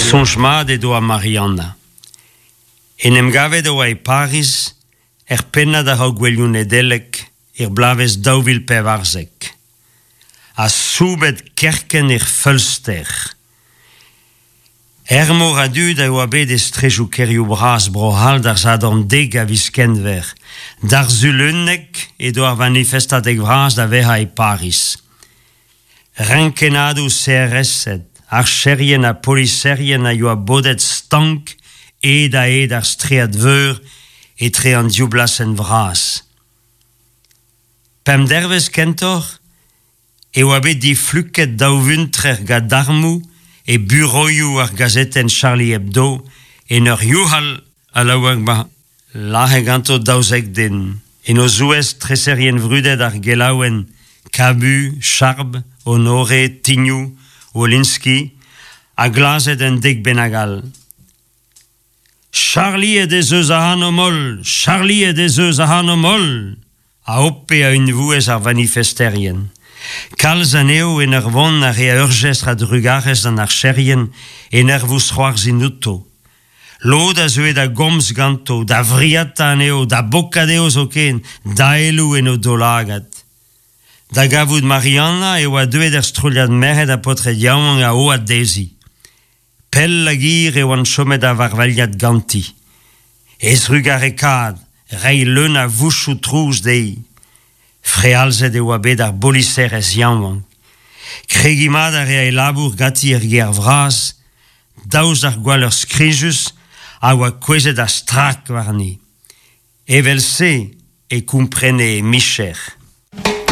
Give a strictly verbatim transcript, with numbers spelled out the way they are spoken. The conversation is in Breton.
Soñj mat he doa Marianna. En em gavet e oa e Pariz er pennad a-raok gouelioù Nedeleg er bloavezh daou vil pevarzek. Ha soubet kerkent er feulster. Ur mor a dud a oa bet e straedoù kêrioù bras Bro-C'hall d'ar Sadorn dek a viz Kenver. D'ar Sul unnek edo ar vanifestadeg vras da vezañ e Pariz. Renkennadoù C R S-ed, archerien ha poliserien a yoa bodet stank hed-ha-hed ar straed veur etre an div blasenn vras. Pemp dervezh kentoc'h e oa bet difluket daou vuntrer gant armoù e buroioù ar gazetenn Charlie Hebdo en ur youc'hal a-laouek ma lazhe ganto daouzek den. En o zouez treserien vrudet ar gelaouenn Cabu, Charb, Honoré, Tignoù, Wolinski ha glazet un dek bennak all. Charliet ez eus ac'hanomp holl! Charliet ez eus ac'hanomp holl! A hope a-unvouezh ar vanifesterien. Kalz anezho en ur vont a rea ur jestr a drugarez d'an archerien en ur vousc'hoarzhin outo. Lod a zeue da gomz ganto, da vriata anezho, da bokat dezho zoken, daeloù en o daoulagad. Da gavout Marianna e oa deuet ur strollad merc'hed ha paotred yaouank a oad dezhi. Pell hag hir e oant chomet da varvailhat ganti. He zrugarekaat, reiñ leun a vouchoù trouz dezhi. Frealzet e oa bet ar boliserez yaouank. Kregiñ mat a rea e labour ganti er gêr vras, daoust d'ar gwalleur skrijus a oa kouezhet a-strak warni. Evel-se e komprene he micher.